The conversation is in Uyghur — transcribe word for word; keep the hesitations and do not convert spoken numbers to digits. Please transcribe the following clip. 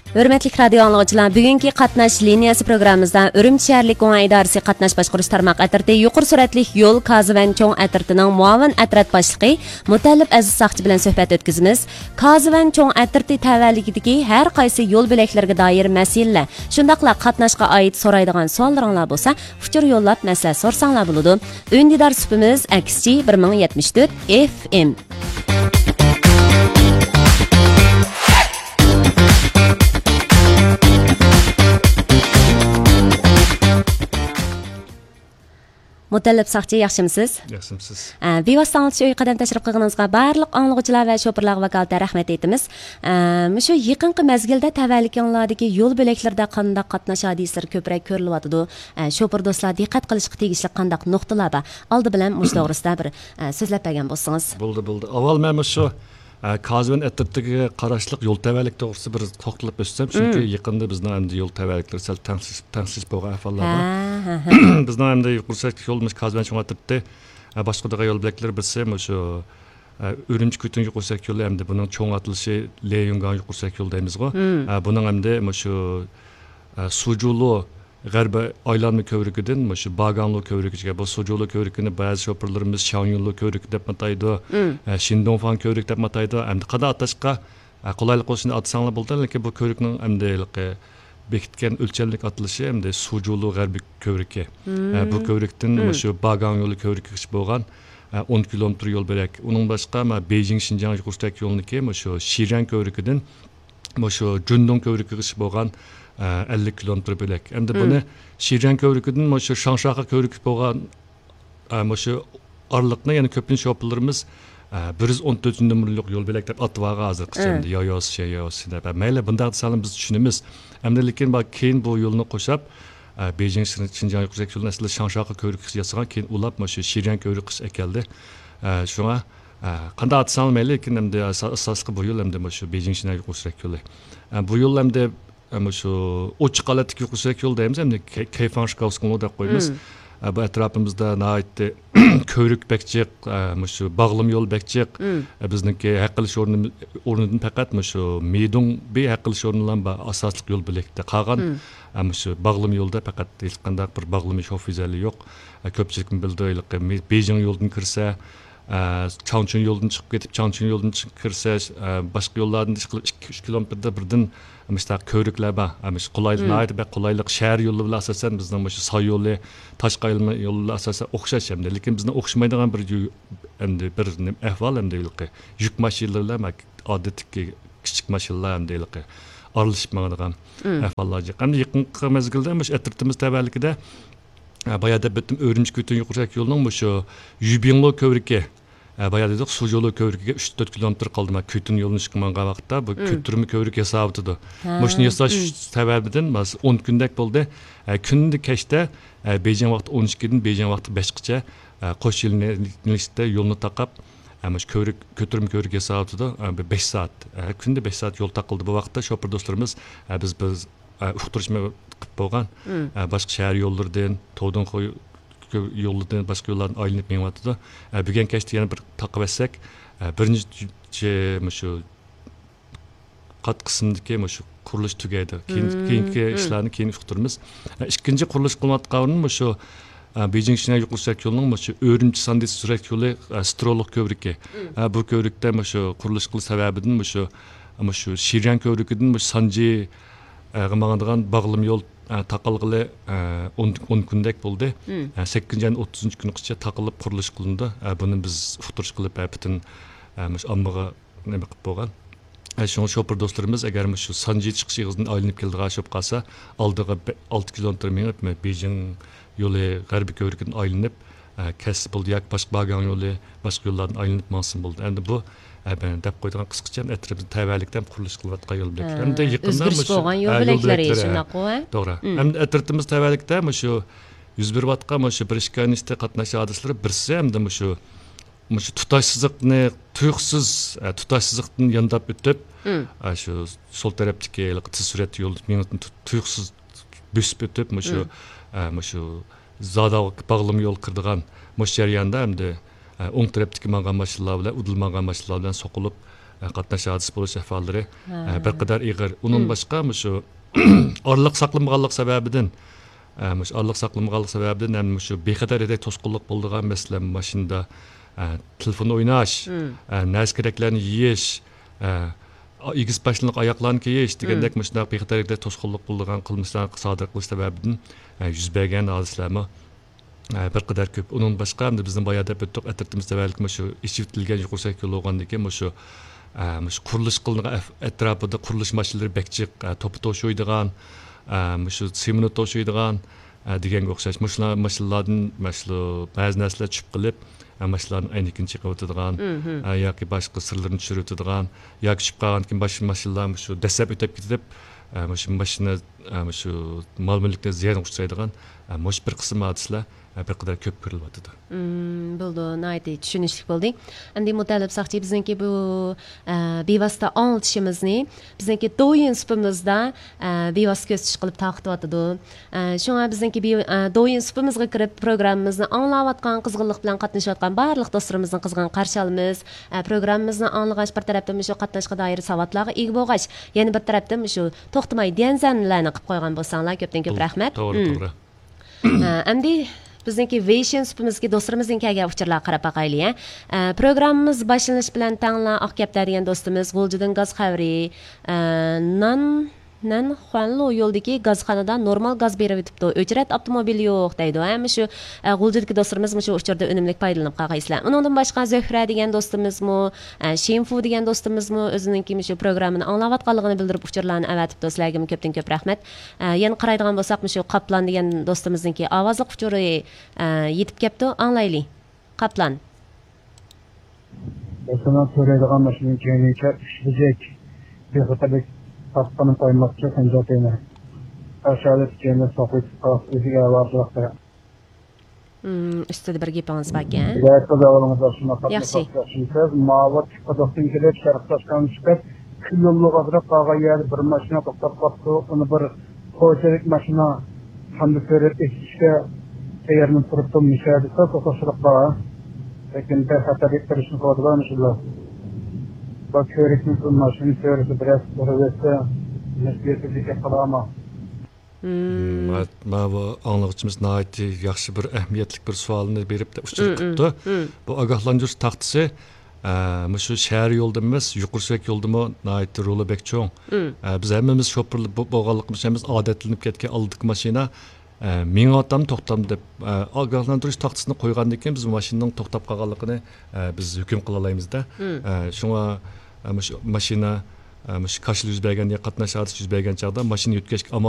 ھۆرمەتلىك رادىيو ئاڭلىغۇچىلار، بۈگۈنكى قاتناش لىنىيەسى پروگراممىمىزدا ئۈرۈمچى شەھەرلىك گۇڭئەن ئىدارىسى قاتناش باشقۇرۇش تارماق ئەترىتى يۇقىرى سۈرئەتلىك يول كازىۋەن چوڭ ئەترىتىنىڭ مۇئاۋىن ئەترەت باشلىقى، مۇتەللىپ ئەزىز ساقچى بىلەن سۆھبەت ئۆتكۈزىمىز. كازىۋەن چوڭ ئەترىتى تەۋەلىكىدىكى ھەر قايسى يول بۆلەكلىرىگە دائىر مەسىلىلەر، شۇنداقلا قاتناشقا ئائىت سورايدىغان سوئاللىرىڭلار بولسا، ئۇچۇر يوللاپ مەسلىھەت سورىساڭلار بولىدۇ. ئۈندىدار سۈپىمىز ئەكسىچى بىر مىڭ يەتمىش تۆت ئېف ئېم. مۇتەللىپ ساقچى، ياخشىمسىز؟ ياخشىمسىز؟ ئە، بىۋاسىتە ئاڭلىتىش ئۆيىگە قەدەم تەشرىپ قىلغىنىڭىزغا بارلىق ئاڭلىغۇچىلار ۋە شوپۇرلارغا ۋاكالىتەن رەھمەت ئېيتىمىز. ئە، مۇشۇ يېقىنقى مەزگىلدە تەۋەلىكىڭلاردىكى يول بۆلەكلىرىدە قانداق قاتناش ھادىسىلىرى كۆپرەك كۆرۈلۈۋاتىدۇ؟ ئە، شوپۇر دوستلار دىققەت قىلىشقا تېگىشلىك قانداق نۇقتىلار بار؟ ئالدى بىلەن مۇشۇ توغرىسىدا بىر، ئە، سۆزلەپ بەرگەن بولسىڭىز. بولدى، بولدى. ئاۋۋال مەن مۇشۇ، ئە، كازىۋەن ئەترىتىگە قاراشلىق يول تەۋەلىك توغرىسىدا بىر توختىلىپ ئۆتسەم، چۈنكى يېقىندا بىزنىڭ ئەمدى يول تەۋەلىكلىرى سەل تەڭسىز، تەڭسىز بولغان ئەھۋاللار بار. ھە، ھە، ھە. بىزنىڭ ئەمدى يۇقىرى سۈرئەتلىك يول مۇشۇ كازىۋەن چوڭ ئەترىتى، ئە، باشقۇرىدىغان يول بۆلەكلىرى بىرسى مۇشۇ، ئە، ئۈرۈمچى كۈتۈن يۇقىرى سۈرئەتلىك يولى، ئەمدى بۇنىڭ چوڭ ئاتىلىشى ليەنگاڭ يۇقىرى سۈرئەتلىك يولى دەيمىزغۇ. ئە، بۇنىڭ ئەمدى مۇشۇ، ئە، سۇجۇلۇ غەربىي ئايلانما كۆۋرۈكىدىن مۇشۇ باگاڭلۇ كۆۋرۈكىگىچە. بۇ سۇجۇلۇ كۆۋرۈكىنى بەزى شوپۇرلىرىمىز شياڭيۇنلۇ كۆۋرۈكى دەپ ئاتايدۇ، ئە، شىندۇڭفاڭ كۆۋرۈكى دەپ ئاتايدۇ. ئەمدى قانداق ئاتاشقا، ئە، قولايلىق بولسۇن دەپ ئاتىساڭلار بولىدۇ. لېكىن بۇ كۆۋرۈكنىڭ ئەمدى ھېلىقى بېكىتكەن ئۆلچەملىك ئاتىلىشى ئەمدى سۇجۇلۇ غەربىي كۆۋرۈكى. ئە، بۇ كۆۋرۈكتىن مۇشۇ باگاڭ يولى كۆۋرۈكىگىچە بولغان، ئە، ئون كىلومېتىر يول بۆلەك. ئۇنىڭ باشقا، مانا بېيجىڭ شىنجاڭ يۇقىرى سۈرئەتلىك يولىنىڭكى مۇشۇ شىريەن كۆۋرۈكىدىن مۇشۇ جۈندۇڭ كۆۋرۈكىگىچە بولغان، ئە، ئەللىك كىلومېتىر بۆلەك. ئەمدى بۇنى شىريەن كۆۋرۈكىدىن مۇشۇ شاڭشاخا كۆۋرۈكى بولغان، ئە، مۇشۇ ئارىلىقنى يەنە كۆپىنچە شوپۇرلىرىمىز، ئە، بىر يۈز ئون تۆتىنچى نومۇرلۇق يول بۆلەك دەپ ئاتىۋالغان ھازىرغىچە. ئەمدى يايوسى، يايوسى دەپ. مەيلى، بۇنداق دېسەڭلار بىز چۈشىنىمىز. ئەمدى لېكىن بار كېيىن بۇ يولنى قوشاپ، ئە، بېيجىڭ شىنجاڭ يۇقىرى سۈرئەتلىك يولىنى ئەسلىدە شاڭشاخا كۆۋرۈكىگىچە ياسىغان، كېيىن ئۇلاپ مۇشۇ شىريەن كۆۋرۈكىگىچە ئەكەلدى. ئە، شۇڭا، ئە، قانداق ئاتىساڭلار مەيلى، لېكىن ئەمدى ئاسا-، ئاساسلىقى بۇ يول ئەمدى مۇشۇ بېيجىڭ شىنجاڭ يۇقىرى سۈرئەتلىك يولى. ئە، بۇ يول ئەمدى، ئە، مۇشۇ ئوچۇق ھالەتتىكى يۇقىرى سۈرئەتلىك يول دەيمىز، ئەمدى كەي-، كەيفاڭشىكاۋسكىنلو دەپ قويىمىز. ئە، بۇ ئەتراپىمىزدا ناھايىتى كۆۋرۈك بەك جىق، ئە، مۇشۇ باغلىما يول بەك جىق. ئە، بىزنىڭكى ھەق ئېلىش ئورنى، ئورنىدىن پەقەت مۇشۇ مىدۇڭ بىر ھەق ئېلىش ئورنىلا بار ئاساسلىق يول بۆلەكتە. قالغان، ئە، مۇشۇ باغلىما يولدا پەقەت ھېچقانداق بىر باغلىما شوفېرلىرى يوق. ئە، كۆپچىلىكمۇ بىلىدۇ، ھېلىقى مى-، بېيجىڭ يولىدىن كىرسە، ئە، چاڭچۈن يولىدىن چىقىپ كېتىپ، چاڭچۈن يولىدىن چىقىپ كىرسە، ئە، باشقا يوللاردىن ئىشقىلىپ ئىككى، ئۈچ كىلومېتىردا بىردىن مۇشۇنداق كۆۋرۈكلەر بار. ئە، مۇشۇ قولايلىق، ناھايىتى بەك قولايلىق شەھەر يولى بىلەن ئاساسەن بىزنىڭ مۇشۇ ساي يولى، تاشقى ئايلانما يولى بىلەن ئاساسەن ئوخشاش ئەمدى. لېكىن بىزنىڭ ئوخشىمايدىغان بىر يۈ-، ئەمدى بىر نېمە ئەھۋال ئەمدى ھېلىقى يۈك ماشىنىلىرى بىلەن ئادەتتىكى كىچىك ماشىنىلار ئەمدى ھېلىقى ئارىلىشىپ ماڭىدىغان ئەھۋاللار جىق. ئەمدى يېقىنقى مەزگىلدە مۇشۇ ئەترىتىمىز تەۋەلىكىدە، ئە، بايا دەپ ئۆتتۈم، ئۈرۈمچى كۈتۈن يۇقىرى سۈرئەتلىك يولىنىڭ مۇشۇ يۈبىڭلو كۆۋرۈكى، ئە، بايا دېدۇق، سۇجۇلۇ كۆۋرۈكىگە ئۈچ تۆت كىلومېتىر قالدى. مانا كۈتۈن يولىنى چىقىپ ماڭغان ۋاقىتتا بۇ كۆتۈرمە كۆۋرۈك ياساۋاتىدۇ. مۇشۇنى ياساش سەۋەبىدىن مانا ئون كۈندەك بولدى. ئە، كۈندە كەچتە، ئە، بېيجىڭ ۋاقتى ئون ئىككىدىن بېيجىڭ ۋاقتى بەشقىچە، ئە، قوش يىلنىشتە يولنى تاقاپ، ئە، مۇشۇ كۆۋرۈك، كۆتۈرمە كۆۋرۈك ياساۋاتىدۇ. ئە، بىر بەش سائەت، ئە، كۈندە بەش سائەت يول تاقىلدى. بۇ ۋاقىتتا شوپۇر دوستلىرىمىز، ئە، بىز، بىز، ئە، ئۇقتۇرۇش قىلىپ بولغان، ئە، باشقا شەھەر يوللىرىدىن، تودۇنخۇي يولىدىن، باشقا يوللاردىن ئايلىنىپ مېڭىۋاتىدۇ. ئە، بۈگۈن كەچتە يەنە بىر تاقىۋەتسەك، ئە، بىرىنچى مۇشۇ قات قىسىمدىكى مۇشۇ قۇرۇلۇش تۈگەيدۇ. كېيىن، كېيىنكى ئىشلارنى كېيىن ئۇقتۇرىمىز. ئە، ئىككىنچى قۇرۇلۇش قىلىنىۋاتقان ئورۇن مۇشۇ، ئە، بېيجىڭ شىنجاڭ يۇقىرى سۈرئەت يولىنىڭ مۇشۇ ئۈرۈمچى ساندى سۈرئەت يولى، ئە، سترولۇق كۆۋرۈكى. ئە، بۇ كۆۋرۈكتە مۇشۇ قۇرۇلۇش قىلىش سەۋەبىدىن مۇشۇ، مۇشۇ شىريان كۆۋرۈكىدىن مۇشۇ سانجى، ئە، ماڭىدىغان باغلىما يول، ئە، تاقالغىلى، ئە، ئون، ئون كۈندەك بولدى. ئە، سەككىزىنچى ئاينىڭ ئوتتۇزىنچى كۈنى قىچە تاقىلىپ قۇرۇلۇش قىلىنىدۇ. ئە، بۇنى بىز ئۇقتۇرۇش قىلىپ، ئە، پۈتۈن، ئە، مۇشۇ ئاممىغا نېمە قىلىپ بولغان. ئە، شۇڭا شوپۇر دوستلىرىمىز ئەگەر مۇشۇ سانجى چىقىش ئېغىزىدىن ئايلىنىپ كېلىدىغان بولۇپ قالسا، ئالدىغا بە-، ئالتە كىلومېتىر مېڭىپ، مە-، بېيجىڭ يولى غەربىي كۆۋرۈكىدىن ئايلىنىپ، ئە، كەتسە بولدى ياكى باشقا باگاڭ يولى، باشقا يوللاردىن ئايلىنىپ ماڭسىمۇ بولدى. ئەمدى بۇ، ئە، مەن دەپ قويىدىغان قىسقىچە ئەترىتىمىزدە تەۋەلىكتە ھەم قۇرۇلۇش قىلىۋاتقان يول بۆلەكلىرى. ھە، ئەمدى يېقىندا ئۆزگىرىش مۇشۇ، بولغان يول ھە، يول بۆلەكلىرى، بۆلەكلىرى، ھە. شۇنداققۇ، ھە؟ توغرا. مم. ئەمدى ئەترىتىمىز تەۋەلىكتە مۇشۇ يۈز بېرىۋاتقان مۇشۇ بىر ئىككى ئاينىڭ ئىچىدە قاتناش ھادىسىلىرى بىرسى ئەمدى مۇشۇ مۇشۇ تۇتاش سىزىقنى تۇيۇقسىز، ئە، تۇتاش سىزىقتىن يانداپ ئۆتۈپ، مم. ئە، شۇ سول تەرەپتىكى ھېلىقى تېز سۈرئەتتە يول مېڭىدىن تۇ-، تۇيۇقسىز بۆسۈپ ئۆتۈپ، مۇشۇ، مم. ئە، مۇشۇ زاداۋ باغلىما يول كىرىدىغان مۇشۇ جەرياندا ئەمدى، ئە، ئوڭ تەرەپتىكى ماڭغان ماشىنىلار بىلەن، ئۇدۇل ماڭغان ماشىنىلار بىلەن سوقۇلۇپ، قاتناش ھادىسە بولۇش ئەھۋاللىرى، ھە، بىر قەدەر ئېغىر. ئۇنىڭدىن باشقا، مۇشۇ ئارىلىق ساقلىمىغانلىق سەۋەبىدىن، ئە، مۇشۇ ئارىلىق ساقلىمىغانلىق سەۋەبىدىن ھەم مۇشۇ بىخەتەر ھەيدەش توسقۇنلۇق بولىدىغان، مەسىلەن، ماشىنىدا، ئە، تېلېفون ئويناش، ئە، نەرسە كېرەكلەرنى يېيىش، ئە، ئېگىز پاشنىلىق ئاياغلارنى كىيىش دېگەندەك مۇشۇنداق بىخەتەر ھەيدەش توسقۇنلۇق بولىدىغان قىلمىشلارنى سادىر قىلىش سەۋەبىدىن، ئە، يۈز بەرگەن ھادىسىلەرمۇ ئە، بىر قەدەر كۆپ. ئۇنىڭدىن باشقا، ئەمدى بىزنىڭ بايا دەپ ئۆتتۇق، ئەترىتىمىز تەۋەلىكى مۇشۇ ئېچىۋېتىلگەن يۇقىرى سۈرئەت يولى بولغاندىكىن، مۇشۇ، ئە، مۇشۇ قۇرۇلۇش قىلىنغان ئەف-، ئەتراپىدا قۇرۇلۇش ماشىنىلىرى بەك جىق، ئە، توپا توشۇيدىغان، ئە، مۇشۇ سېمونت توشۇيدىغان، ئە، دېگەنگە ئوخشاش. مۇشۇلار ماشىنىلاردىن، مۇشۇ بەزى نەرسىلەر چۈشۈپ قېلىپ، ئە، ماشىنىلارنىڭ ئەينىكىنى چېقىۋېتىدىغان، ئە، ياكى باشقا سىرلىرىنى چۈشۈرۈۋېتىدىغان، ياكى چۈشۈپ قالغاندىن كېيىن باشقا ماشىنىلار مۇشۇ دەسسەپ ئۆتۈپ كېتىپ، ئە، مۇشۇ ماشىنا، ئە، مۇشۇ مال مۈلۈكنى زىيانغا ئۇچرايدىغان، ئە، مۇشۇ بىر قىسىم ھادىسىلەر، ئە، بىر قەدەر كۆپ كۆرۈلۈۋاتىدۇ. مم، بولىدۇ، ناھايىتى چۈشىنىشلىك بولدى. ئەمدى مۇتەللىپ ساقچى، بىزنىڭكى بۇ، ئە، بىۋاسىتە ئاڭلىتىشىمىزنى بىزنىڭكى دوۋيىن سۇپىمىزدا، ئە، بىۋاسىتە كۆزىتىش قىلىپ تارقىتىۋاتىدۇ. ئە، شۇڭا بىزنىڭكى بىۋ-، ئە، دوۋيىن سۇپىمىزغا كىرىپ، پروگراممىمىزنى ئاڭلاۋاتقان، قىزغىنلىق بىلەن قاتنىشىۋاتقان بارلىق دوستلىرىمىزنى قىزغىن قارشى ئالىمىز. ئە، پروگراممىمىزنى ئاڭلىغاچ، بىر تەرەپتىن مۇشۇ قاتناشقا دائىر ساۋاتلارغا ئىگە بولغاچ، يەنە بىر تەرەپتىن مۇشۇ توختىماي ديەنزەنلەرنى قىلىپ قويغان بولساڭلار، كۆپتىن كۆپ رەھمەت. توغرا، مم. توغرا. ئە، ئەمدى بىزنىڭكى ۋېيشىن سۇپىمىزدىكى دوستلىرىمىزدىن كەلگەن ئۇچۇرلارغا قاراپ باقايلى، ھە. ئە، پروگراممىمىز باشلىنىش بىلەن تەڭلا ئاق كەپتەر دېگەن دوستىمىز غۇلجىدىن گاز خەۋىرى، ئە، نان، نەن خۇەنلۇ يولىدىكى گازخانىدا نورمال گاز بېرىۋېتىپتۇ، ئۆچرەت ئاپتوموبىل يوق دەيدۇ، ھە. مۇشۇ، ئە، غۇلجىدىكى دوستلىرىمىز مۇشۇ ئۇچۇردا ئۈنۈملۈك پايدىلىنىپ قالغايسىلەر. ئۇنىڭدىن باشقا زۆھرە دېگەن دوستىمىزمۇ، ئە، شىنفۇ دېگەن دوستىمىزمۇ ئۆزىنىڭكى مۇشۇ پروگراممىنى ئاڭلاۋاتقانلىقىنى بىلدۈرۈپ ئۇچۇرلارنى ئەۋەتىپتۇ. سىلەرگىمۇ كۆپتىن كۆپ رەھمەت. ئە، يەنە قارايدىغان بولساق، مۇشۇ قاپلان دېگەن دوستىمىزنىڭكى ئاۋازلىق ئۇچۇرى، ئە، يېتىپ كەپتۇ. ئاڭلايلى. قاپلان. ماشىنا سۆرەيدىغان ماشىنىنى كەينىگە ئۈچ بۆجەك بىخەتەرلىك تاسقىنى قويماقچى، خەنجەر تېمى. ئاشۇ كەينىدە سوقۇپ قالسا ئۆزىگە ئاۋارىچىلىق. مم، ئۈستىدە بىر گېپىڭىز باركەن. ھىدايەت قىلدى ئاۋۇلىڭىزدا شۇنداق قاتناش ياخشى. ياخشىمۇ سىز؟ ماۋۇ تىكقۇدۇقتىن كېلىپ شەرقىي تاشكەنتكە چىقىپ، كۈن يوللۇق ئازراق قالغان يەردە بىر ماشىنا توختاپ قاپتۇ. ئۇنى بىر خوجىلىق ماشىنا ھەمدە سۈرەت ئېچىشكە تەييارلىنىپ تۇرۇپتۇ. مۇشۇ يەردە سەل توختاشلىق بار. لېكىن بىر خەتەرلىك قىلىشنى قىلىدىغان مۇشۇلار. بۇ كۆرۈكنىڭ ماشىنا سۈرىتى بىرەر ئۇرۇۋەتسە، مەسئۇلىيەتسىزلىك قىلامۇ؟ مم. ماۋۇ ئاڭلىغۇچىمىز ناھايىتى ياخشى بىر ئەھمىيەتلىك بىر سوئالنى بېرىپ ئۇچۇر قىپتۇ. بۇ ئاگاھلاندۇرۇش تاختىسى، ئە، مۇشۇ شەھەر يولىدا ئەمەس، يۇقىرى سۈرئەت يولىدىمۇ ناھايىتى رولى بەك چوڭ. ئە، بىز ھەممىمىز شوپۇر بو-، بولغانلىقىمىز ئۈچۈن ھەممىمىز ئادەتلىنىپ كەتكەن ئالدىدىكى ماشىنا، ئە، مېڭىۋاتامدۇ، توختامدۇ دەپ، ئە، ئاگاھلاندۇرۇش تاختىسىنى قويغاندىن كېيىن بىز ماشىنىنىڭ توختاپ قالغانلىقىنى، ئە، بىز ھۆكۈم قىلالايمىزدە. ئە، شۇڭا، ئە، مۇشۇ ماشىنا، ئە، مۇشۇ كاشىلا يۈز بەرگەن يا قاتناش ھادىسىسى يۈز بەرگەن چاغدا ماشىنا يۆتكەشكە ئامال